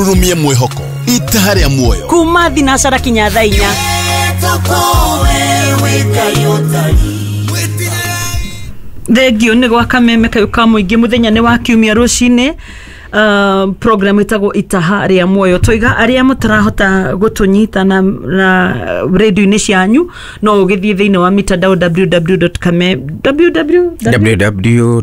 Rurumie mwĩhoko itaha rĩa muoyo kuma thinacara kinya thaa 4. Thengio nĩ gwa kameme kayũ ka mũingĩ. Mũthenya nĩ wa kiumia rũcinĩ, program ĩtagwo Itaha rĩa Muoyo. Tũiga arĩa mũtarahota gũtũnyita na radio-inĩ cianyu, no ũgĩthiĩ thĩinĩ wa mitandao www.kame www www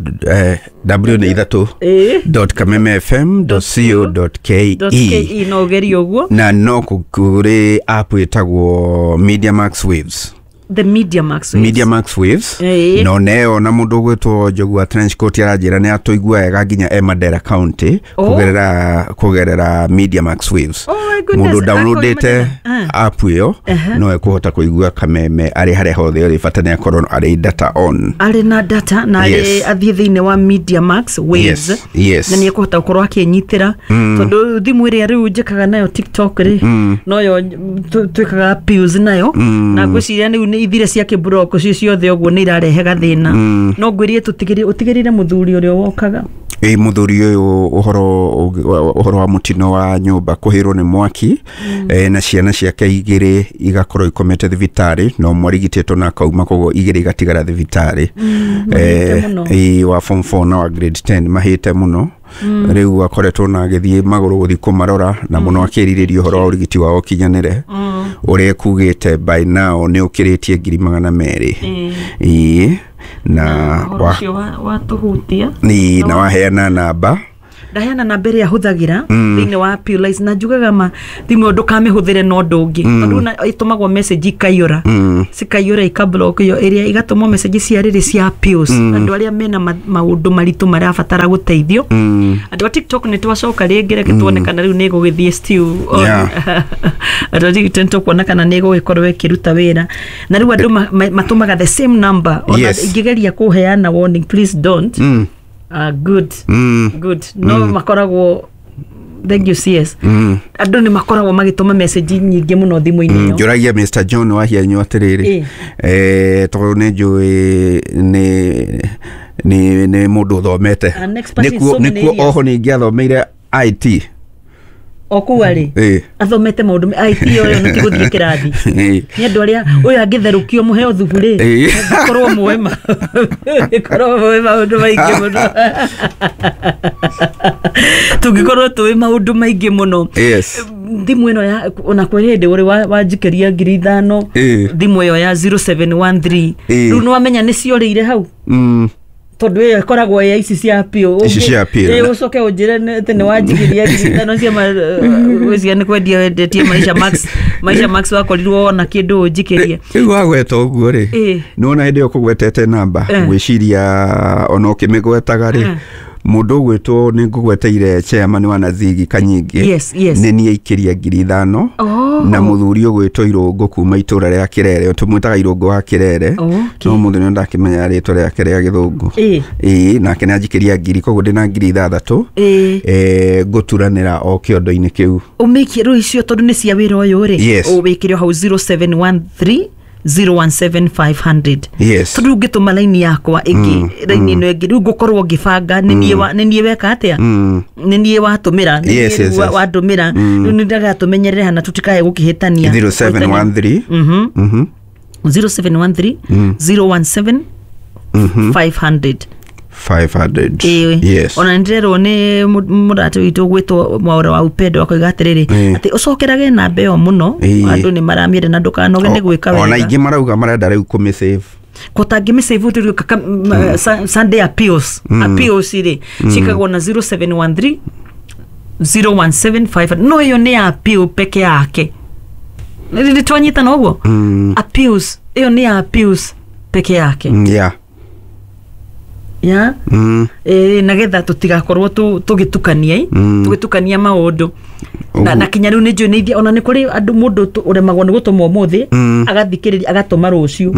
w nĩ ithatũ Ĩĩ. dot kameme fm dot co dot ke. .ke, no ũgerie ũguo. Na no kũrĩ app ĩtagwo Media Max Waves. The Media Max Waves. Media Max Waves. Ĩĩ. No neo na mũndũ ũgwĩtwo Njogu wa Trench Coat aranjĩra nĩ atũigua wega nginya e Mandera County Oh. kũgerera Media Max Waves. Oh my goodness, Mũndũ downloadĩte akoima Mandera. app ĩyo no ekũhota kũigua kameme arĩ harĩa hothe ũrĩ, bata nĩ akorwo arĩ data on. Arĩ na data na arĩ athiĩ thĩinĩ wa Media Max Waves na nĩ ekũhota gũkorwo akĩnyitĩra, tondũ thimũ ĩrĩa rĩu njĩkaga nayo TikTok rĩ, noyo twĩkaga appeals nayo, na ngwĩciria rĩu nĩ ithire cia kĩmburoko cio ciothe, ũguo nĩ irarehe gathĩna. No ngwĩrie tũtigĩrĩre ũtigĩrĩre mũthuri ũrĩa wokaga. Ĩ, mũthuri ũyũ, ũhoro wa mũtino wa nyũmba kũhĩrwo nĩ mwaki, na ciana ciake igĩrĩ igakorwo ikomete thibitarĩ, no mwarigitĩtwo na akauma, koguo igĩrĩ igatigara thibitarĩ. Mahĩte mũno. Ĩ, wa form 4 na wa grade 10, mahĩte mũno. Rĩu akoretwo na agĩthiĩ magũrũ gũthiĩ kũmarora na mũno akĩrirĩria ũhoro wa ũrigiti wao ũkinyanĩre, ũrĩa ekugĩte by now nĩ ũkĩrĩtie 200,000. Ĩ, na ũhoro ũcio watũhutia. Ĩ, na waheana namba. Ndaheana namba ĩrĩa hũthagĩra thĩinĩ wa Appeal, na njugaga ma thimũ ĩyo ndũkamĩhũthĩre na ũndũ ũngĩ, tondũ ĩtũmagwo message ikaiyũra, cikaiyũra, ikablock ĩyo ĩrĩa igatũmwo message cia rĩrĩ cia appeals, andũ arĩa mena maũndũ maritũ marabatara gũteithio. Andũ a TikTok, nĩ twacoka rĩngĩ, reke tuone kana rĩu nĩ ĩgũgĩthiĩ still on. Andũ a TikTok, nĩ tũkuona kana nĩ ĩgũgĩkorwo ĩkĩruta wĩra, na rĩu andũ matũmaga the same number. Ona ingĩgeria kũheana warning, please don't. Good. Good, no makoragwo, thank you CS, andũ nĩ makoragwo magĩtũma message nyingĩ mũno thimũ-inĩ ĩyo. Njũragia Mr John Wahianyu atĩrĩrĩ, tondũ nĩ njũĩ nĩ mũndũ ũthomete. An expert in so many Nĩkuo areas. oho ningĩ athomeire IT. O kũu arĩ athomete maũndũ IT, ũyũ nĩ ti gũthiĩ kĩrathi. Nĩ andũ arĩa ũyũ angĩtherũkio mũheo thubu rĩ, korwo mwema, korwo mũĩ maũndũ maingĩ mũno, tũngĩkorwo tũĩ maũndũ maingĩ mũno. Thimũ ĩno ya ona kwĩ hĩndĩ ũrĩ wanjikĩria 5,000, thimũ ĩyo ya 0713. Rĩu nĩ wamenya nĩ ciorĩire hau, tondũ ĩyo ĩkoragwo ya ici cia appeal. Ici cia appeal. Ũcoke ũnjĩre atĩ nĩ wanjikĩria 5,000 cia gwĩciria nĩ kwendia wendetie Maisha Max, Maisha Max, wakorirwo wona kĩndũ ũnjikĩrie. Rĩu wagweta ũguo rĩ, nĩwona hĩndĩ ĩyo kũgwetete namba, gwĩciria ona ũkĩmĩgwetaga rĩ, mũndũ ũgwĩtwo nĩ ngũgweteire chairman wa Nazigi Kanyingĩ, nĩ niĩ aikĩria 5,000. Oh. Na mũthuri ũgwĩtwo Irũngũ kuma itũra rĩa Kĩrere, tũmwĩtaga Irũngũ wa Kĩrere, no mũthĩ nĩ ndakĩmenya rĩtwa rĩake rĩa gĩthũngũ. Ĩĩ, nake nĩ anjikĩria ngiri, koguo ndĩna 6,000. Ngũturanĩra o kĩondo-inĩ kĩu. Ũmĩkie rĩu icio, tondũ nĩ cia wĩra ũyũ rĩ, ũwĩkĩre o hau 0713 017500. Tondũ rĩu ngĩtũma laini yakwa ĩngĩ, raini ĩno ĩngĩ, rĩu ngũkorwo ngĩbanga nĩ niĩ weka atĩa, nĩ niĩ watũmĩra, nĩ niĩ rĩu wandũmĩra. Rĩu nĩ ndagatũmenyerere hana tũtikae gũkĩhĩtania. 0713. 0713 017 500. 500. Ĩĩ. Ona nĩndĩrerwo nĩ mũrata witũ gwĩtwo Mwaũra wa Upendo, akoiga atĩrĩrĩ, atĩ ũcokerage namba ĩyo mũno. Andũ nĩ maramĩenda na ndũkanoge nĩ gwĩka Ona wega. ingĩ marauga marenda rĩu kũmĩsave. Kũtangĩmĩsave, Sunday appeals, appeals rĩ ciĩkagwo na 0713 0175, no ĩyo nĩ ya appeal peke yake. Nĩ twanyitana ũguo? Appeals ĩyo nĩ ya appeals peke yake. Ya. Ĩĩ, nagetha tũtigakorwo tũgĩtukania ĩ, tũgĩtukania maũndũ na, na kinya rĩu nĩ njũĩ nĩ ona nĩ kũrĩ andũ mũndũ ũremagwo nĩ gũtũma ũmũthĩ, agathikĩrĩria agatũma rũciũ.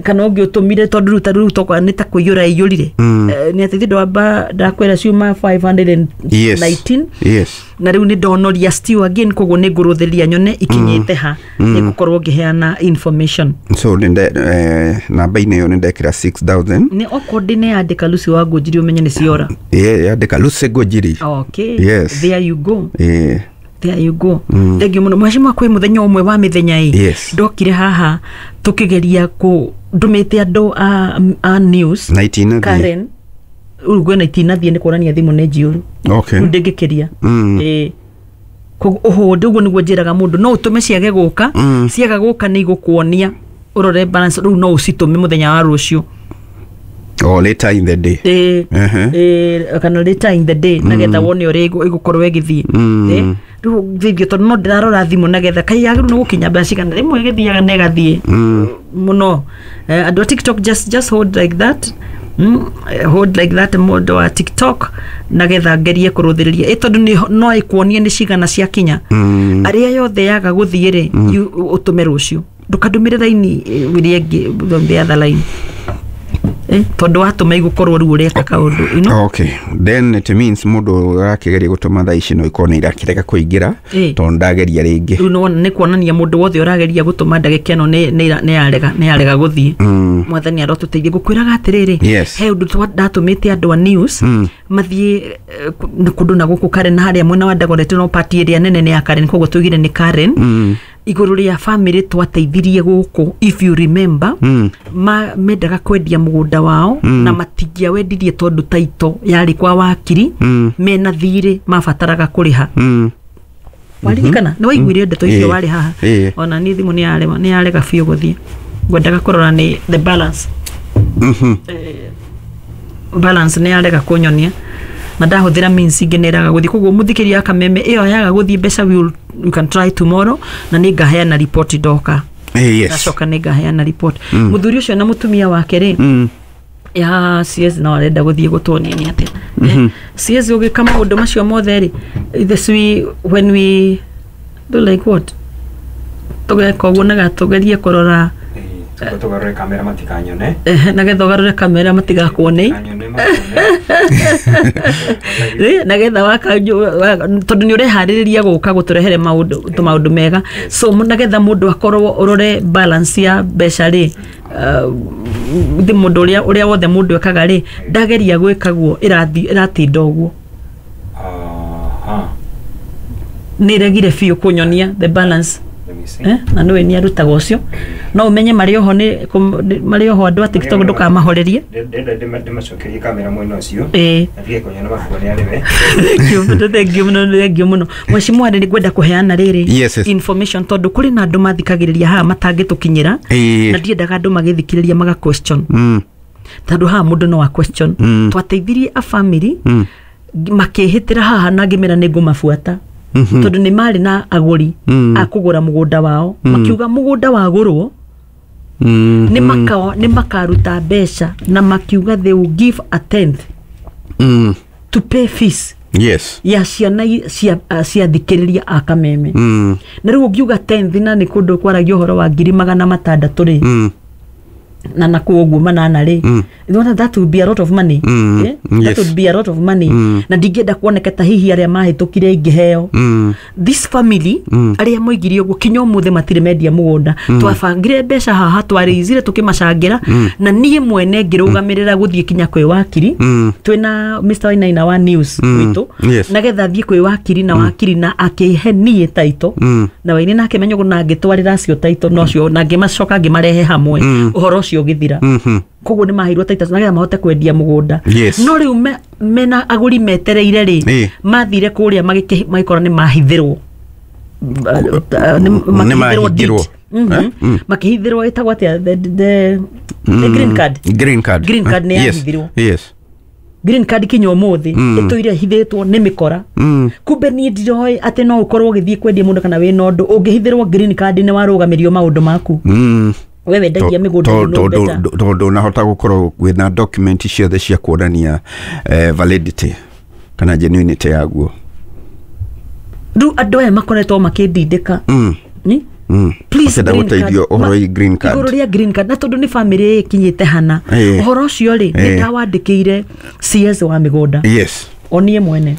Kana ũngĩ ũtũmire tondũ rĩu ta rĩu tokorwo nĩ ta kũiyũra iyũrire. Nĩ atĩ ndwamba ndakwĩra ciuma 519. Yes. Na rĩu nĩ ndonoria still again, koguo nĩ ngũrũthĩrĩria nyone ikinyĩte ha, nĩ ngũkorwo ngĩheana information. So nĩ namba-inĩ ĩyo nĩ ndekĩra 6000. Nĩ okorwo ndĩneyandĩka Lucy wa Ngũnjiri ũmenye nĩ ciora. Yandĩka Lucy Ngũnjiri. Okay. Yes. There you go. There you go. Thank you mũno mheshimiwa. Kwĩ mũthenya ũmwe wa mĩthenya ĩ ndokire haha tũkĩgeria kũ ndũmĩte andũ a news Na itinathiĩ. Karen rĩu ngwena itinathiĩ nĩ kuonania thimũ nĩ njiyũru. Okay. Rĩu ndĩngĩkĩria. Ĩĩ. Koguo ũhũndĩ ũguo nĩguo njĩraga mũndũ no ũtũme ciage gũka. Ciaga gũka nĩ igũkuonia ũrore balance, rĩu no ũcitũme mũthenya wa rũciũ. Or later in the day. Ĩĩ. Ĩĩ, kana later in the day nagetha wone ũrĩa ĩgũkorwo ĩgĩthiĩ. Ĩĩ, rĩu thithio tondũ no ndĩrarora thimũ nagetha kai yagĩrĩirwo nĩ gũkinya mbeca cigana, rĩmwe ĩgĩthiaga na ĩgathiĩ mũno. Andũ a TikTok, just hold like that. Hold like that, mũndũ wa TikTok, nagetha ngerie kũrũthĩrĩria ĩ tondũ no ĩkuonie nĩ cigana ciakinya. Arĩa yothe yaga gũthiĩ rĩ, ũtũme rũciũ, ndũkandũmĩre raini ĩrĩa ĩngĩ, the other line, tondũ watũma igũkorwo rĩu ũreka kaũndũ you know? Okay, then it means mũndũ ũrakĩgeria gũtũma thaa ici no ikorwo nĩ irakĩrega kũingĩra tondũ ndageria rĩngĩ. Rĩu nĩwona nĩ kuonania mũndũ wothe ũrageria gũtũma ndagĩka ĩno nĩ yarega gũthiĩ. Mwathani arotũteithie. Ngũkwĩraga atĩrĩrĩ, he ũndũ ndatũmĩte andũ a news mathiĩ kũndũ na gũkũ Karen, harĩa mwena wa Dagoretti, no party ĩrĩa nene nĩ ya Karen, koguo tũigire nĩ Karen, igũrũ rĩa family twateithirie gũkũ, if you remember. Mendaga kwendia mũgũnda wao na matingĩawendirie tondũ taito yarĩ kwa wakiri, mena thirĩ mabataraga kũrĩha. Waririkana nĩ waiguire ndeto icio? Ĩĩ. Warĩ haha. Ĩĩ. Ona niĩ thimũ nĩ yarega biũ gũthiĩ, ngwendaga kũrora nĩ the balance. Balance nĩ yarega kũnyonia na ndahũthĩra means ingĩ nĩ ĩraga gũthiĩ, koguo mũthikĩria wa Kameme ĩyo yaga gũthiĩ mbeca, we can try tomorrow na nĩ ngaheana report ndoka. Yes. Ndacoka nĩ ngaheana report. Mũthuri ũcio na mũtumia wake rĩ, ya CS no arenda gũthiĩ gũtuonia nĩ atĩa. CS ũgĩka maũndũ macio mothe rĩ, this we when we do like what, tũgeka ũguo naga tũgerie kũrora. Tũgarũre kamera matikanyone. Nagetha ũgarũre kamera matigakuone. Matikanyone, makuone. Nagetha waka tondũ nĩ ũreharĩrĩria gũka gũtũrehere maũndũ tũmaũndũ mega, so nagetha mũndũ akorwo ũrore balance ya mbeca rĩ, thĩ mũndũ ũrĩa wothe mũndũ ekaga rĩ, ndageria gwĩka guo ĩratinda ũguo. Nĩ ĩregire biũ kũnyonia the balance. Let me see. Na nĩwe nĩ arutaga ũcio no ũmenye marĩ oho nĩ marĩ oho andũ a TikTok, ndũkamahorerie. Ndĩrenda ndĩmacokerie kamera mwena ũcio. Ĩĩ. Na ndige kũnyona makuone arĩ we. Thank you mũno, thank you mũno, thank you mũno mheshimiwa. Nĩ ngwenda kũheana rĩrĩ Yes. information tondũ kũrĩ na andũ mathikagĩrĩria haha matangĩtũkinyĩra, na ndiendaga andũ magĩthikĩrĩria maga question, tondũ haha mũndũ no a question. Twateithirie a family makĩhĩtĩra haha na ngĩmera nĩ ngũmabuata, tondũ nĩ marĩ na agũri a kũgũra mũgũnda wao. Makiuga mũgũnda wagũrwo nĩ makaruta mbeca, na makiuga they will give a tenth to pay fees ya ciana cia thikĩrĩria a Kameme. Na rĩu ũngiuga tenth na nĩ kũndũ kwaragia ũhoro wa 600,000 rĩ, na nakuo ũguo manana rĩ, mm. that would be a lot of money. Eh? That would be a lot of money. Na ndingĩenda kuoneka ta hihi arĩa mahĩtũkire ingĩheo. This family arĩa moigire ũguo kinya ũmũthĩ matirĩ mendia mũgũnda. Twabangire mbeca haha, twarĩizire tũkĩmacangĩra, na niĩ mwene ngĩrũgamĩrĩra gũthiĩ kinya kwĩ wakiri, twĩna Mr. Wainaina wa news witũ, nagetha thiĩ kwĩ wakiri na wakiri na akĩhe niĩ taito, na Waini nake menya ũguo, na ngĩtwarĩra acio taito nocio na ngĩmacoka ngĩmarehe hamwe, ũhoro ũcio ũgĩthira. Koguo nĩ maheirwo taito nagetha mahote kwendia mũgũnda. No rĩu mena agũri metereire rĩ, mathire kũrĩa magĩkora nĩ mahithĩrwo. Nĩ mahingĩrwo. Eh? Makĩhithĩrwo, ĩtagwo atĩa, the green card. Green card. Green card nĩ yahithirwo. Green card kinya ũmũthĩ ĩtũire hithĩtwo nĩ mĩkora. Kumbe niĩ ndiroĩ atĩ no ũkorwo ũgĩthiĩ kwendia mũndũ kana wĩna ũndũ ũngĩhithĩrwo green card nĩ warũgamĩrio maũndũ maku. We wendagia mĩgũnda, you know better. Tondũ unahota gũkorwo wĩna document ciothe cia kuonania validity kana genuinity yaguo. Rĩu andũ aya makoretwo makĩndindĩka. Ni? Please, Makĩenda green card. gũteithio ũhoro wĩgiĩ green card. Igũrũ rĩa green card, na tondũ nĩ bamĩrĩ ĩkinyĩte hana, ũhoro ũcio rĩ, nĩ ndawandĩkĩire CS wa mĩgũnda, Yes. o niĩ mwene.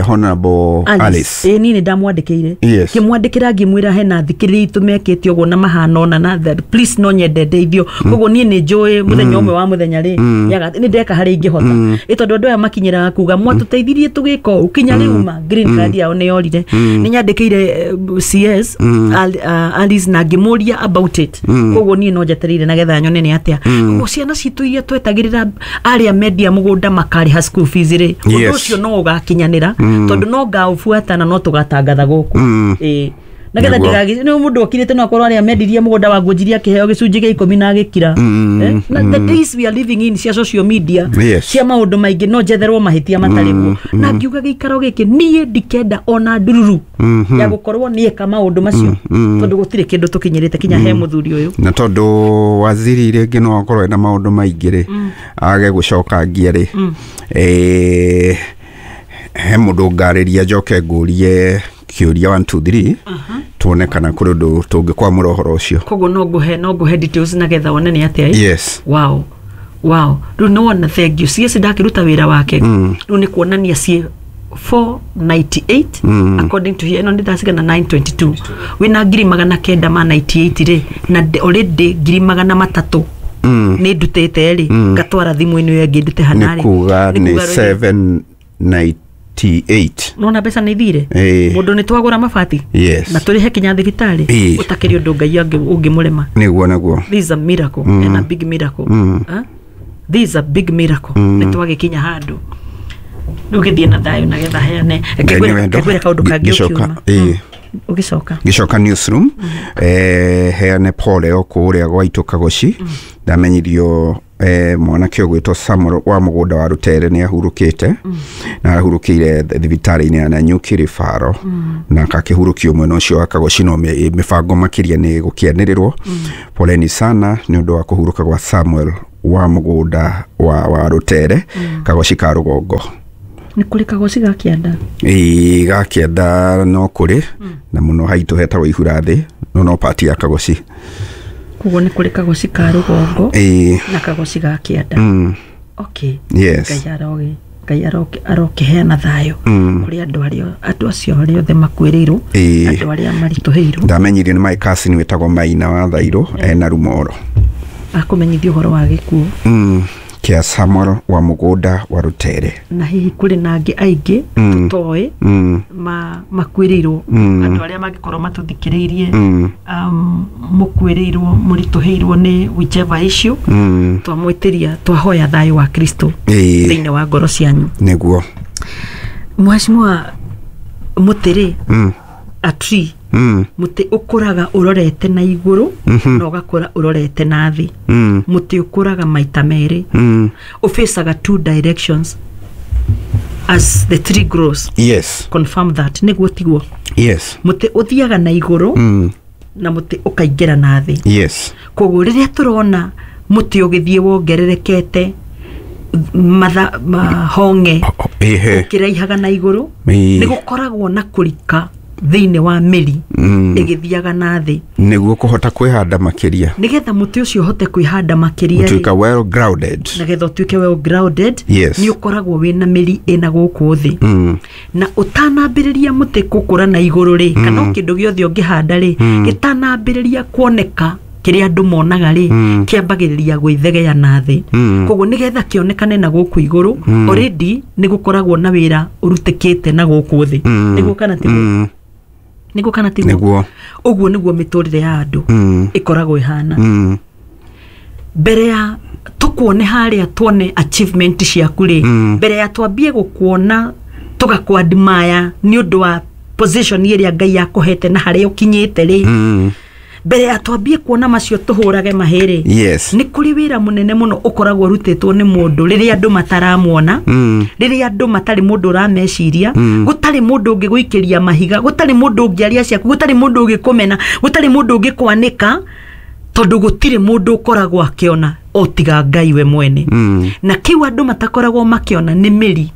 Honorable Alice. Ĩĩ, niĩ nĩ ndamwandĩkĩire. Yes. Ngĩmwandĩkĩra ngĩmwĩra hena thikĩrĩria itũ mekĩte ũguo na mahana ona na please no nyende ndeithio. Koguo niĩ nĩ njũĩ mũthenya ũmwe wa mũthenya rĩ, nĩ ndeka harĩa ingĩhota, ĩ tondũ andũ aya makinyĩraga kuga mwatũteithirie tũgĩka ũũ, kinya rĩu ma green card yao nĩ yorire. Nĩ nyandĩkĩire CS Alice na ngĩmũria about it. Koguo niĩ no njetereire nagetha nyone nĩ atĩa. Koguo ciana citũ iria twetagĩrĩra arĩa mendia mũgũnda makarĩha school fees rĩ, ũndũ ũcio no ũgakinyanĩra, tondũ no ngaũbuata na no tũgatangatha gũkũ. Ĩĩ, nagetha ndigagi nĩ mũndũ okirĩte no akorwo arĩa mendirie mũgũnda wa ngũnjirie akĩheo gĩcunjĩ gĩa 10 na agĩkira. Na the days we are living in cia social media, cia maũndũ maingĩ, no njetherwo mahĩtia matarĩ guo, na ngiuga gĩikaro gĩkĩ niĩ ndikenda ona ndururu ya gũkorwo nĩeka maũndũ macio, tondũ gũtirĩ kĩndũ tũkinyĩrĩte kinya he mũthuri ũyũ. Na tondũ waziri rĩngĩ no akorwo ena maũndũ maingĩ rĩ, age gũcokangia rĩ, he mũndũ ngarĩria njoke ngũrie kĩũria 1 2 3, tuone kana kũrĩ ũndũ tũngĩkwamũra ũhoro ũcio. Koguo no ngũhe details nagetha wone nĩ atĩa, ĩ? Yes. Wow, rĩu nĩ wona, thank you CS ndakĩruta wĩra wake. Rĩu nĩ kuonania ciĩ 498 according to here, ĩno nĩ ndacigana 922, wĩna 998 rĩ, na already 300,000 nĩ ndutĩte rĩ, ngatwara thimũ-inĩ ĩyo ĩngĩ ndute hana Nĩ rĩ. kuga nĩ Nĩ kuga rĩ, 798. Nona mbeca nĩ ithire. Mũndũ nĩ twagũra mabati na tũrĩhe kinya thibitarĩ. Ũtakĩrĩ ũndũ Ngai ũngĩmũrema. Nĩguo. This is a miracle and a big miracle. Huh? This is a big miracle. Nĩ twagĩkinya handũ rĩu gĩthiĩ na thayũ na getha heane. Ngai nĩ wendo. Ngwĩre kaũndũ kangĩ Ngĩcoka, ũkiuma. ĩĩ. Ũgĩcoka. Ngĩcoka newsroom, heane pole o kũrĩa gwaitũ Kagoci. Ndamenyithio mwanake ũgwĩtwo Samuel wa mũgũnda wa Rũtere nĩ ahurũkĩte, na arahurũkĩire thibitarĩ-inĩ ya Nanyuki Rĩbaro, na akakĩhurũkio mwena ũcio wa Kagoci, no mĩbango makĩria nĩ gũkĩanĩrĩrwo. Poleni sana nĩ ũndũ wa kũhurũka gwa Samuel wa mũgũnda wa Rũtere, Kagoci ka rũgongo. Nĩ kũrĩ Kagoci ga kĩanda? Ĩĩ, ga kĩanda no kũrĩ, na mũno haitũ hetagwo Ihura Thĩ, no pati ya Kagoci. Koguo nĩ kũrĩ Kagoci ka rũgongo na Kagoci ga kĩanda. Okay. Yes. Ngai arokĩheana thayũ kũrĩ andũ arĩa, andũ acio arĩa othe makuĩrĩirwo, andũ arĩa maritũhĩirwo. Ndamenyirio nĩ my cousin wĩtagwo Maina wa Thairũ ena Rumoro. Akũmenyithia ũhoro wa gĩkuũ Kĩa Samuel wa mũgũnda wa Rũtere. Na hihi kũrĩ na angĩ aingĩ tũtoĩ makuĩrĩirwo, andũ arĩa mangĩkorwo matũthikĩrĩirie, mũkuĩrĩirwo, mũritũhĩirwo nĩ whichever issue, twamwĩtĩria, twahoya thayũ wa Kristo thĩinĩ wa ngoro cianyu. Nĩguo. Mheshimiwa, mũtĩ rĩ, a tree, mũtĩ ũkũraga ũrorete na igũrũ na ũgakũra ũrorete na thĩ. Mũtĩ ũkũraga maita merĩ, ũfacaga two directions as the tree grows. Yes. Confirm that, nĩguo tiguo? Yes. Mũtĩ ũthiaga na igũrũ na mũtĩ ũkaingĩra na thĩ. Yes. Koguo rĩrĩa tũrona mũtĩ ũgĩthiĩ wongererekete matha mahonge ũkĩraihaga na igũrũ, nĩ gũkoragwo na kũrika thĩinĩ wa mĩri ĩgĩthiaga na thĩ. Nĩguo kũhota kwĩhanda makĩria. Nĩgetha mũtĩ ũcio ũhote kwĩhanda makĩria rĩ, gũtuĩka well grounded. Nĩgetha ũtuĩke well grounded, nĩ ũkoragwo wĩna mĩri ĩna gũkũ thĩ. Na ũtanambĩrĩria mũtĩ gũkũra na igũrũ rĩ, kana o kĩndũ gĩothe ũngĩhanda rĩ, gĩtanambĩrĩria kuoneka kĩrĩa andũ monaga rĩ, kĩambagĩrĩria gwĩthegea na thĩ. Koguo nĩgetha kĩonekane na gũkũ igũrũ, already nĩ gũkoragwo na wĩra ũrutĩkĩte na gũkũ thĩ. Nĩguo kana tiguo? Nĩguo kana tiguo? Nĩguo. Ũguo nĩguo mĩtũrĩre ya andũ ĩkoragwo ĩhana. Mbere ya tũkuone harĩa, tuone achievement ciaku rĩ, mbere ya twambie gũkuona tũgakwadmaya nĩ ũndũ wa position ĩrĩa Ngai akũhete na harĩa ũkinyĩte rĩ, mbere ya twambie kuona macio tũhũrage mahĩrĩ, nĩ kũrĩ wĩra mũnene mũno ũkoragwo ũrutĩtwo nĩ mũndũ rĩrĩa andũ mataramuona, rĩrĩa andũ matarĩ mũndũ ũrameciria, gũtarĩ mũndũ ũngĩgũikĩria mahiga, gũtarĩ mũndũ ũngĩaria ciaku, gũtarĩ mũndũ ũngĩkũmena, gũtarĩ mũndũ ũngĩkwanĩka, tondũ gũtirĩ mũndũ ũkoragwo akĩona o tiga Ngai we mwene. Na kĩu andũ matakoragwo makĩona nĩ mĩri,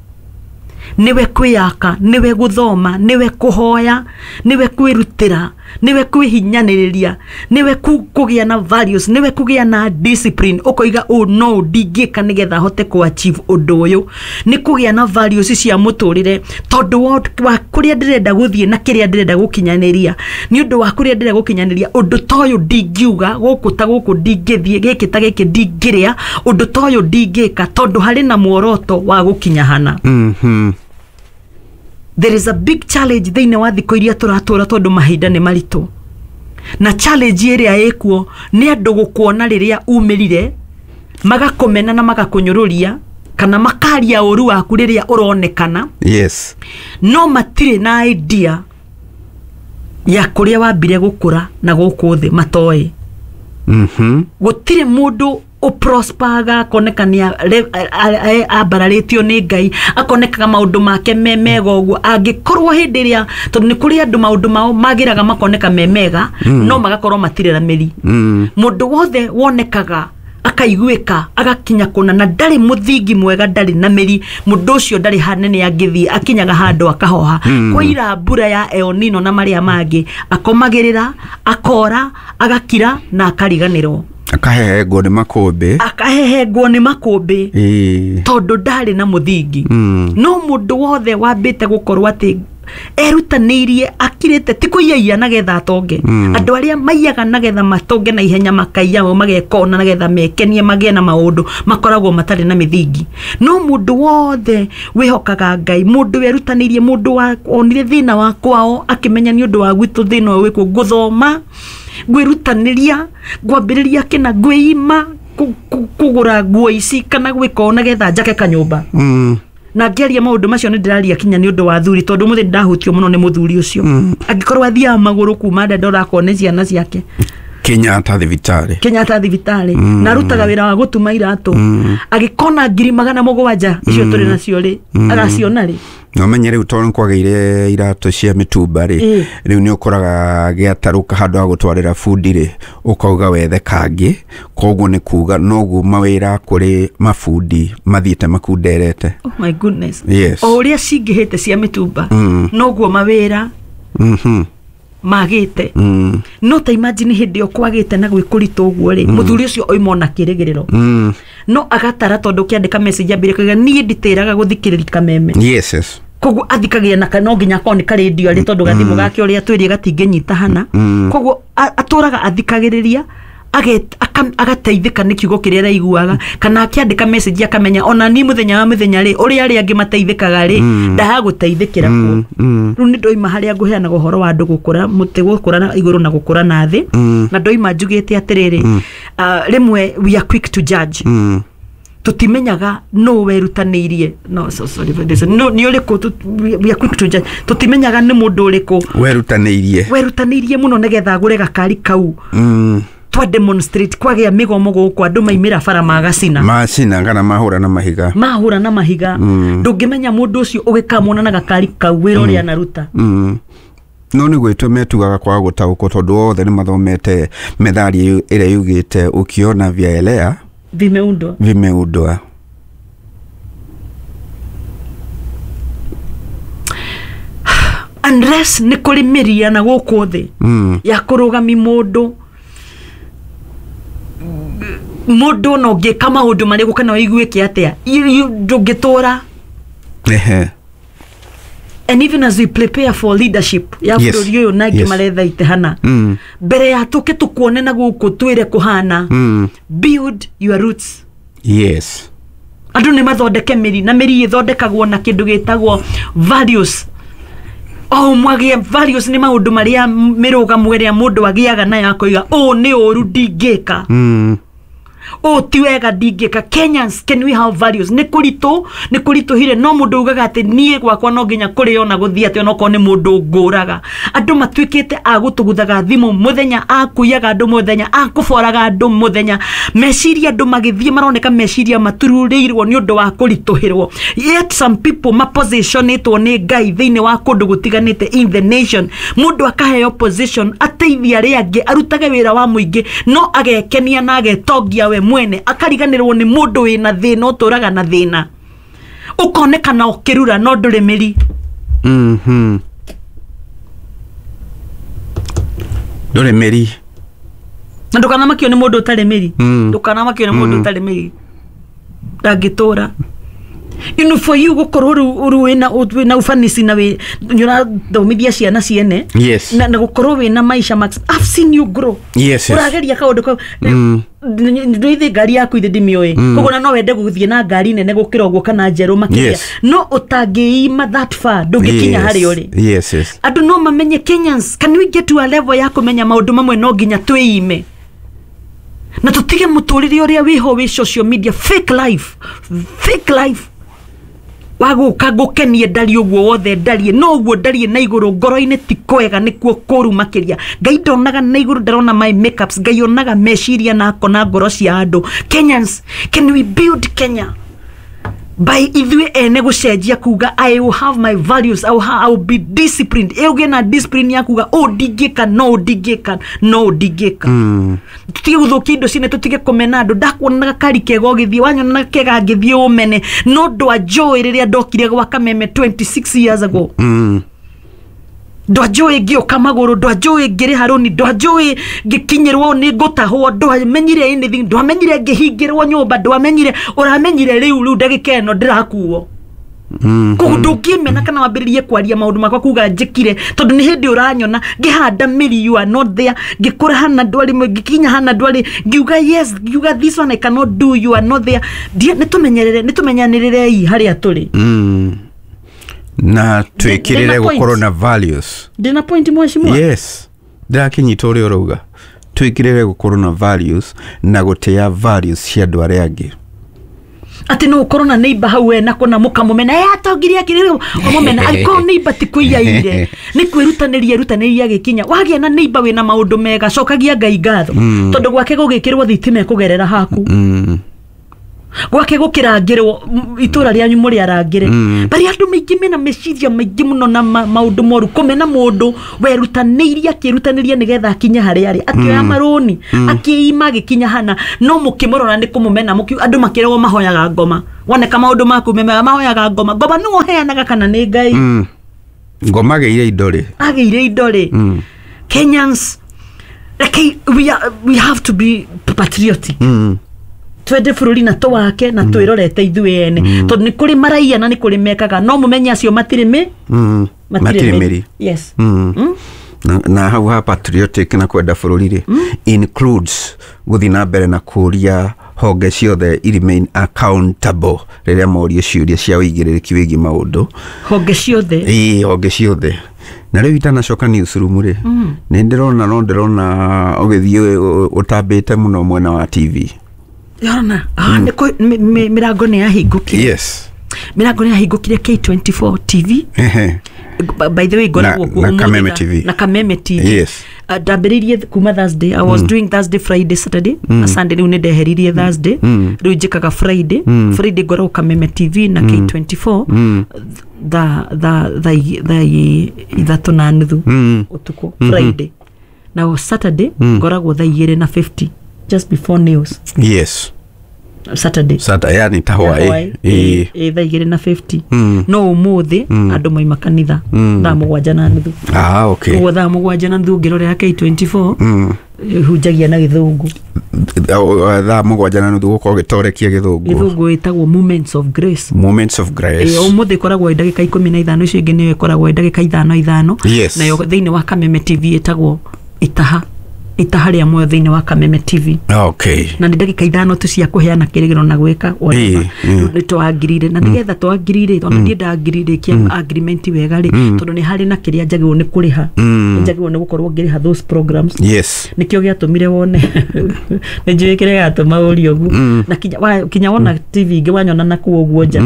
nĩwe kwĩyaka, nĩwe gũthoma, nĩwe kũhoya, nĩwe kwĩrutĩra. Nĩwe kwĩhinyanĩrĩria, nĩwe kũgĩa na values, nĩwe kũgĩa na discipline, ũkoiga ũũ no ndingĩka nĩgetha hote kũ achieve ũndũ ũyũ. Nĩ kũgĩa na values cia mũtũrĩre, tondũ wa kũrĩa ndĩrenda gũthiĩ na kĩrĩa ndĩrenda gũkinyanĩria, nĩ ũndũ wa kũrĩa ndĩrenda gũkinyanĩria ũndũ ta ũyũ ndingiuga gũkũ ta gũkũ ndingĩthiĩ, gĩkĩ ta gĩkĩ ndingĩrĩa, ũndũ ta ũyũ ndingĩka, tondũ harĩ na muoroto wa gũkinya hana. There is a big challenge thĩinĩ wa thikũ iria tũratũra, tondũ mahinda nĩ maritũ, na challenge ĩrĩa ĩkuo nĩ andũ gũkuona rĩrĩa umĩrire magakũmena na magakũnyũrũria kana makaria ũru waku rĩrĩa ũronekana. Yes. No matirĩ na idea ya kũrĩa wambire gũkũra na gũkũ thĩ matoĩ. Gũtirĩ mũndũ ũprospaga akoneka nĩ ambararĩtio nĩ Ngai, akonekaga maũndũ make me mega ũguo, angĩkorwo hĩndĩ ĩrĩa, tondũ nĩ kũrĩ andũ maũndũ mao magĩraga makoneka me mega, no magakorwo matirĩ na mĩri. Mũndũ wothe wonekaga akaiguĩka agakinya kũna na ndarĩ mũthingi mwega, ndarĩ na mĩri, mũndũ ũcio ndarĩ hanene angĩthiĩ, akinyaga handũ akahoha. Kwaira mbura ya El Nino na marĩa mangĩ, akomagĩrĩra, akora, agakira na akariganĩrwo, akahehengwo nĩ makũmbĩ, akahehengwo nĩ makũmbĩ, tondũ ndarĩ na mũthingi. No mũndũ wothe wambĩte gũkorwo atĩ erutanĩirie akirĩte, ti kũiyaia nagetha atonge. Andũ arĩa maiyaga nagetha matonge na ihenya, makaiya magekona nagetha mekenie magĩe na maũndũ, makoragwo matarĩ na mĩthingi. No mũndũ wothe wĩhokaga Ngai, mũndũ werutanĩirie, mũndũ wonire thĩna wa kwao akĩmenya nĩ ũndũ wa gwitũ thĩna ũyũ wĩkuo, ngũthoma, ngwĩrutanĩria, ngwambĩrĩria kĩna, ngwĩima kũgũra nguo ici kana gwĩka ũũ nagetha njake kanyũmba. Na ngĩaria maũndũ macio nĩ ndĩraria kinya nĩ ũndũ wa athuri, tondũ mũthĩ ndahutio mũno nĩ mũthuri ũcio. Angĩkorwo athiaga magũrũ kuma Dandora akone ciana ciake Kenyatta thibitarĩ, Kenyatta thibitarĩ, na arutaga wĩra wa gũtuma iratũ, agĩkona 700,000 icio tũrĩ nacio rĩ, agaciona rĩ. No menye rĩu tondũ kwagĩire iratũ cia mĩtumba rĩ, rĩu nĩ ũkoraga gĩatarũka handũ ha gũtwarĩra bundi rĩ, ũkauga wethe kangĩ. Koguo nĩ kuga noguo mawĩra kũrĩ mabundi mathiĩte makunderete. Oh my goodness. Yes. O ũrĩa cingĩhĩte cia mĩtumba, noguo mawĩra magĩte. No ta imagine hĩndĩ ĩyo kwagĩte na gwĩ kũritũ ũguo rĩ, mũthuri ũcio oima ona kĩrĩgĩrĩro, no agatara, tondũ ũkĩandĩka message ambire kuga niĩ nditĩraga gũthikĩrĩria kameme. Yes, yes. Koguo athikagia na no nginya akorwo nĩ karĩndio arĩ, tondũ gathimũ gake ũrĩa twĩrie gatingĩnyita hana. Koguo atũraga athikagĩrĩria, agateithĩka nĩ kiugo kĩrĩa araiguaga, kana akĩandĩka message akamenya ona niĩ mũthenya wa mũthenya rĩ, ũrĩa arĩa angĩ mateithĩkaga rĩ, ndaha gũteithĩkĩra kuo. Rĩu nĩ ndoima harĩa ngũheanaga ũhoro wa andũ gũkũra mũtĩ, gũkũra na igũrũ na gũkũra na thĩ, na ndoima njugĩte atĩrĩrĩ, rĩmwe we are quick to judge. Tũtimenyaga nũ werutanĩirie. No, so sorry for this. No, nĩ ũrĩkũ, we are quick to judge. Tũtimenyaga nĩ mũndũ ũrĩkũ werutanĩirie mũno nĩgetha agũre gakari kau. Twa demonstrate kwagĩa mĩgomo gũkũ, andũ maimĩra bara magacina, macina kana mahũra na mahiga, mahũra na mahiga. Ndũngĩmenya mũndũ ũcio ũgĩkamwona na gakari kau wĩra ũrĩa anaruta. No nĩ gwĩtwo metugaga kwaga gũtaũkwo, tondũ othe nĩ mathomete methali ĩrĩa yugĩte ukiona vyaelea vimeundwa, vimeundwa. Unless nĩ kũrĩ mĩria na gũkũ thĩ ya kũrũgami mũndũ, mũndũ no ũngĩka maũndũ marĩkũ kana ũiguĩke atĩa, ndũngĩtũra. And even as we prepare for leadership ya bũrũri ũyũ na angĩ maretha ite hana, mbere ya tũke tũkuone na gũkũ twĩre kũhana, build your roots. Yes. Andũ nĩ mathondeke mĩri, na mĩri ĩthondekagwo na kĩndũ gĩtagwo values. O mwagĩe values nĩ maũndũ marĩa mĩrũgamo ĩrĩa mũndũ agĩaga nayo akoiga ũũ nĩ ũru ndingĩka, ũũ ti wega ndingĩka. Kenyans, can we have values? Nĩ kũritũ, nĩ kũritũhire, no mũndũ ugaga atĩ niĩ gwakwa no nginya kũrĩo na gũthiĩ atĩ onokorwo nĩ mũndũ ngũraga. Andũ matuĩkĩte a gũtũguthaga thimũ mũthenya, a kũiyaga andũ mũthenya, a kũboraga andũ mũthenya. Meciria andũ magĩthiĩ maroneka meciria matururĩirwo nĩ ũndũ wa kũritũhĩrwo. Yet some people mapositionĩtwo nĩ Ngai thĩinĩ wa kũndũ gũtiganĩte in the nation. Mũndũ akaheo position ateithie arĩa angĩ, arutage wĩra wa mũingĩ, no agekenia na agetongia we mwene, akariganĩrwo nĩ mũndũ wĩna thĩna, ũtũraga na thĩna, ũkonekana ũkĩrura no ndũrĩ mĩri. Ndũrĩ mĩri. Na ndũkanamakio nĩ mũndũ ũtarĩ mĩri. Ndũkanamakio nĩ mũndũ ũtarĩ mĩri, ndangĩtũra. You know, for you gũkorwo rĩu wĩna ufanisi na wĩ nĩũrathomithia ciana ciene. Yes. Na gũkorwo wĩna maisha max. I've seen you grow. Yes. Ũrageria kaũndũ kau ndũithi ngari yaku ithe ndimĩũĩ, koguo na no wende gũthiĩ na ngari nene gũkĩra ũguo kana njerũ makĩria. Yes. No ũtangĩima that far ndũngĩkinya harĩa ũrĩ. Yes. Andũ no mamenye, Kenyans, can we get to a level ya kũmenya maũndũ mamwe no nginya twĩime na tũtige mũtũrĩre ũrĩa wĩho wĩ social media, fake life, fake life wa gũka ngũkenie ndariĩ ũguo wothe ndariĩ, no ũguo ndariĩ na igũrũ ngoro-inĩ ti kwega, nĩkuo kũru makĩria. Ngai ndonaga na igũrũ, ndarona my makeups. Ngai onaga meciria na akona ngoro cia andũ. Kenyans, can we build Kenya by ithuĩ ene gũcenjia kuga I will have my values, I will be disciplined, ĩũgĩe na discipline ya kuga ũũ ndingĩka, no ũũ ndingĩka, no ũũ ndingĩka. Tũtige gũthũkia indo ciene, tũtige kũmena andũ. Ndakuonaga kari kega ũgĩthiĩ, wanyonaga kega ngĩthiĩ ũmene, no ndwanjũĩ rĩrĩa ndokire gwa Kameme 26 years ago. Ndwanjũĩ ngĩũka magũrũ, ndwanjũĩ ngĩrĩha rũni, ndwanjũĩ ngĩkinyĩrwo nĩ ngũtahwo, ndwamenyire anything, ndwamenyire ngĩhingĩrwo nyũmba, ndwamenyire. Ũramenyire rĩu ndagĩka ĩno ndĩrakuo. Koguo ndũngĩmena kana wambĩrĩrie kwaria maũndũ makwa kuga njĩkire, tondũ nĩ hĩndĩ ũranyona ngĩhanda mĩri, you are not there, ngĩkũra hana ndwarĩ, ngĩkinya hana ndwarĩ, ngiuga yes, ngiuga this one I cannot do, you are not there. Nĩtũmenyerere, nĩtũmenyanĩrĩrei harĩa tũrĩ. Na twĩkĩrĩre Ndĩna point. gũkorwo na values. Ndĩna point, mheshimiwa. Yes, ndĩrakĩnyita ũrĩa ũrauga, twĩkĩrĩre gũkorwo na values na gũtĩa values cia andũ arĩa angĩ. Atĩ no ũkorwo na neighbor hau we nako na mũkamũmena, "Eh, atongirie akĩrĩ ũmũmena," angĩkorwo neighbor ti kũiyaire, nĩ kwĩrutanĩria erutanĩria agĩkinya. Wagĩa na neighbor wĩna maũndũ mega, cokagia Ngai ngatho, tondũ gwake gũgĩkĩrwo thitima ĩkũgerera haku, gwake gũkĩrangĩrwo itũra rĩanyu mũrĩ arangĩre. Bari andũ maingĩ mena meciria maingĩ mũno na maũndũ moru, kũmena mũndũ werutanĩirie akĩrutanĩria nĩgetha akinye harĩa arĩ, akĩoya marũni, akĩima, agĩkinya hana, no mũkĩmũrora nĩ kũmũmena. Andũ makĩragwo mahoyaga ngoma, woneka maũndũ maku me mega mahoyaga ngoma. Ngoma nĩwe ũheanaga kana nĩ Ngai? Ngoma agĩire indo rĩ? Agĩire indo rĩ? Kenyans, rekei, we have to be patriotic. Twende bũrũri na tũwake na twĩrorete ithuĩ ene, tondũ nĩ kũrĩ maraiya na nĩ kũrĩ mekaga, no mũmenye acio matirĩ mĩ Matirĩ mĩri. Yes. Na hau ha patriotic na kwenda bũrũri rĩ, includes gũthiĩ na mbere na kũria honge ciothe i remain accountable rĩrĩa morio ciũria cia ũigĩrĩrĩki wĩgiĩ maũndũ. Honge ciothe. Ĩĩ, honge ciothe. Na rĩu itanacoka newsroom rĩ, nĩ ndĩrona, no ndĩrona ũgĩthiĩ ũtambĩte mũno mwena wa TV. Yona mĩrango nĩ yahingũkire. Yes. Mĩrango nĩ yahingũkire K24 TV. By the way, ngoragwo kuo na ũmũthĩ Kameme TV. Na Kameme TV. Yes. Ndambĩrĩirie kuma Thursday. I was doing Thursday, Friday, Saturday na Sunday. Rĩu nĩ ndeheririe Thursday, rĩu njĩkaga Friday. Friday ngoragwo Kameme TV na K24 thaa 3:30 ũtukũ Friday, na Saturday ngoragwo thaa 2:50, just before news. Yes. Saturday. Sata, yani ta hwaĩ. Ĩ thaa 2:50. No ũmũthĩ andũ maima kanitha thaa 7:30. Ah, okay. Koguo thaa 7:30 ũngĩrorera K24, hunjagia na gĩthũngũ. Thaa 7:30 gũkorwo gĩtorekia gĩthũngũ. Gĩthũngũ ĩtagwo Moments of Grace. Moments of Grace. Ĩ, ũmũthĩ ĩkoragwo ĩ ndagĩka 15, icio ingĩ nĩyo ĩkoragwo ĩ ndagĩka 5 5. Yes. Nayo thĩinĩ wa Kameme TV ĩtagwo Itaha rĩa Muoyo thĩinĩ wa Kameme TV. Okay. Na nĩ ndagĩka 5 tu cia kũheana kĩrĩgĩro na gwĩka whatever. Ĩ, ĩ. Nĩ twangirire na nĩgetha twangirire, tondũ ndiĩ ndangirire kia agreement wega rĩ, tondũ nĩ harĩ na kĩrĩa njagĩrĩirwo nĩ kũrĩha, njagĩrĩirwo nĩ gũkorwo ngĩrĩha those programs. Yes. Nĩkĩo gĩatũmire wone, nĩ njũĩ kĩrĩa gĩatũma ũrie ũguo, na kinya wona TV ingĩ wanyona nakuo ũguo nja,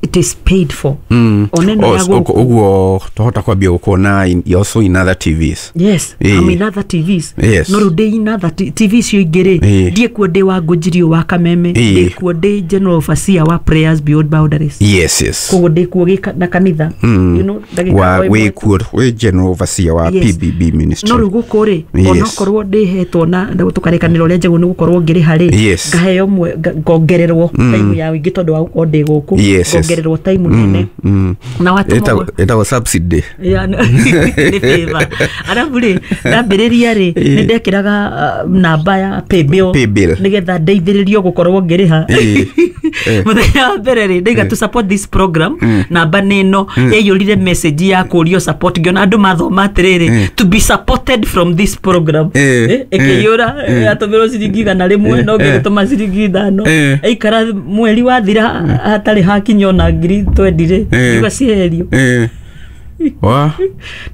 it is paid for. Ona ĩno ya gũkũ. Ũguo twahota kwambia gũkuona also in other TVs. Yes. Ĩ. I'm in other TVs. Yes. No rĩu ndĩ in other TV icio ingĩ rĩ, Ĩ. ndiĩ kuo ndĩ wa Ngũnjirio wa Kameme. Ĩ. Ndĩ kuo ndĩ general overseer wa Prayers Beyond Boundaries. Yes. Koguo ndĩ kuo na kanitha, you know, ndagĩka Wa o ĩmwe. wĩ kuo wĩ general overseer wa Yes. PBB ministry. No rĩu gũkũ rĩ, onokorwo ndĩhetwo na tũkarĩkanĩra ũrĩa njagĩrĩirwo nĩ gũkorwo ngĩrĩha rĩ, Yes. ngaheo ngongererwo time ya wĩingĩ tondũ wa gũkorwo ndĩ gũkũ. Yes. Ngongererwo time nene na watũmwo Ĩtagwo subsidy. Ya, nĩ favor. Arabu rĩ, ndambĩrĩria rĩ, nĩ ndekĩraga namba ya paybill Paybill. nĩgetha ndeithĩrĩrio gũkorwo ngĩrĩha. Mũthenya wa mbere rĩ, ndaiga to support this program, namba nĩ ĩno. Yaiyũrire message ya kũrio support, ngĩona andũ mathoma atĩrĩrĩ, "To be supported from this program." Ĩkĩiyũra, yatũmĩrwo ciringi 100, no ngĩgĩtũma ciringi 5. Aikara mweri wathira hatarĩ hakinya ona ngiri twendi rĩ, ngiuga cieherio. Wa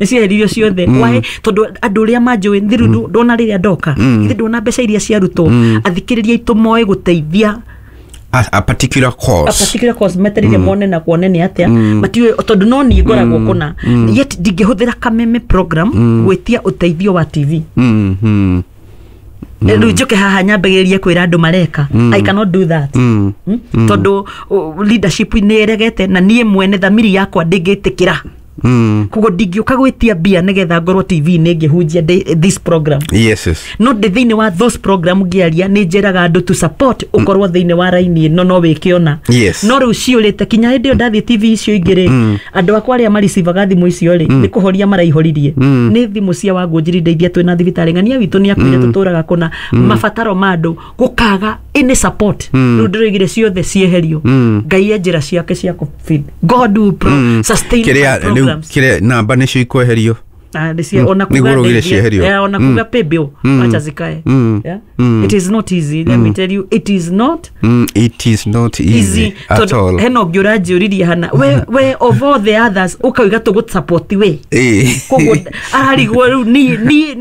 Nĩ cieheririo ciothe. Why? Tondũ andũ arĩa manjũĩ thiru, ndona rĩrĩa ndoka ithe, ndona mbeca iria ciarutwo, athikĩrĩria aitũ moĩ gũteithia a particular a cause. Particular cause metereire mone na kuone nĩ atĩa matiũĩ, tondũ no niĩ ngoragwo kũna, yet ndingĩhũthĩra kameme program gwĩtia ũteithio wa TV. Rĩu njũke haha nyambagĩrĩrie kwĩra andũ mareka, I cannot do that. Tondũ leadership nĩ ĩregete na niĩ mwene thamiri yakwa ndĩngĩtĩkĩra. Koguo ndingĩũka gwĩtia mbia nĩgetha ngorwo TV-inĩ ngĩhunjia this program. Yes. No ndĩ thĩinĩ wa those program ngĩaria, nĩ njĩraga andũ to support, ũkorwo thĩinĩ wa raini ĩno no wĩke ona. No rĩu ciũrĩte kinya hĩndĩ ĩyo ndathiĩ TV icio ingĩ rĩ, andũ akwa arĩa maricivaga thimũ icio rĩ, nĩ kũhoria maraihoririe. Nĩ thimũ cia Wangũnjiri ndeithia, twĩna thibitarĩ, ng'ania witũ nĩ akuire, tũtũraga kũna, mabataro ma andũ gũkaga any support. Rĩu ndĩroigire ciothe cieherio. Ngai e njĩra ciake cia kũ feed. God will sustain my Kĩrĩa rĩu programs. Kĩrĩa namba nĩcio ikweherio. Ah, nĩcio ona Nĩguo kuga ũraugire ndeithia. cieherio. Ona kuga paybill, acha zikae. Yeah? It is not easy, let me tell you, it is not It is not easy, easy at tondũ all. hena ũngĩ ũranjũririe hana we of all the others ũkauga tũgũ we. Koguo ararigwo rĩu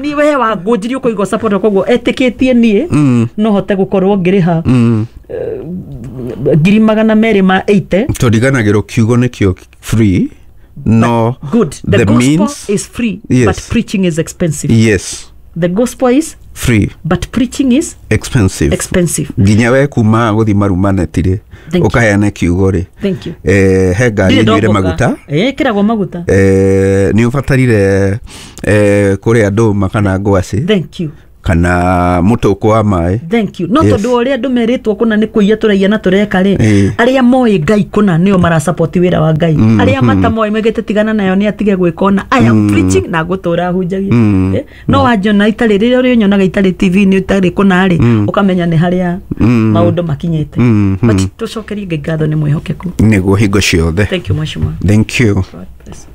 ni we Wangũnjiri ũkũiga support, koguo etĩkĩtie niĩ no hote gũkorwo ngĩrĩha 280,000. Tũriganagĩrwo kiugo nĩkĩo free, no Good, the the gospel means is free, but preaching is expensive. The gospel is free, but preaching is expensive. Expensive. Nginya we kuma gũthi marumaneti rĩ, Thank you. ũkaheana kiugo rĩ, Thank you. He ngari Ndirĩ ĩnyuire ndomboka. maguta. Ĩkĩragwo maguta. Nĩ ũbatarire kũrĩa ndũma kana ngwacĩ Thank you. kana mũtũkũ wa maĩ. Thank you. No tondũ wa ũrĩa andũ merĩtwo kũna nĩ kũiya tũraiya na tũreka rĩ, arĩa moĩ Ngai kũna nĩo marasapoti wĩra wa Ngai. Arĩa matamoĩ maigĩte tigana nayo, nĩ atige gwĩka ona. I am preaching na ngũtũra hunjagia. No wanjona itarĩ, rĩrĩa ũrĩnyonaga itarĩ TV-inĩ, itarĩ kũna rĩ, ũkamenya nĩ harĩa maũndũ makinyĩte. But tũcokerie Ngai ngatho, nĩ mwĩhokeku. Nĩguo hingo ciothe. Thank you, mheshimiwa. Thank you. God bless.